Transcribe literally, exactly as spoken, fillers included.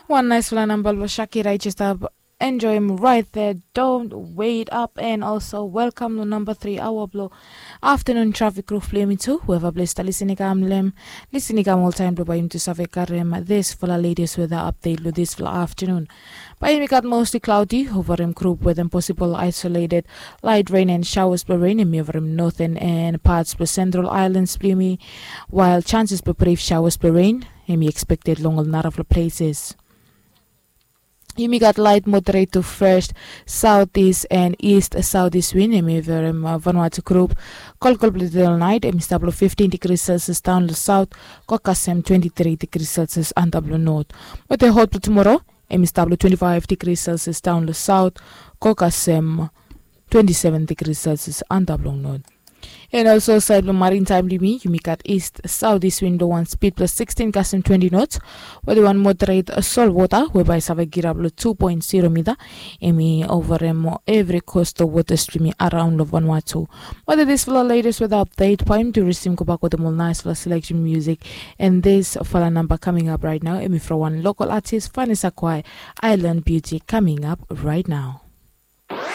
Wan naisfala namba blong Shakira i just stap enjoim right there. Don't wait up and also welcome long namba tri aoa blong afternoon traffic roof blong yumi tu. Whoever blong stap lisin i kam long em, lisin i kam oltaim blong bai yumi tu save karim disfala latest weather update long disfala afternoon. Bai yumi gat mostly cloudy, overim group with possible isolated light rain and showers blong rain em i overim northern and parts blong central islands blong yumi, while chances blong brief showers blong rain em i expected long ol narafala places. Yumi gat light moderate to first southeast and east southeast wind em i overim Vanuatu group. Kolkol blong today all night em i stap long fifteen degrees Celsius daun long south, go kasem twenty-three degrees Celsius antap long north. Weather hot blong tomorrow em i stap long twenty-five degrees Celsius daun long south, go kasem twenty-seven degrees Celsius antap long north. And also side blong maritime blong yumi, yumi gat east southeast wind blong wan speed blong sixteen kasem twenty knots, weather wan moderate sol wota we bai save girap long two point zero mita. Em i overim evri coastal waters blong yumi araon long Vanuatu. Weather disfala latest weather update bai yumi tu risim gobak wetem ol naisfala selection music. And disfala namba coming up right now em i from wan local artist, Vanessa Kwai, Island Beauty, coming up right now.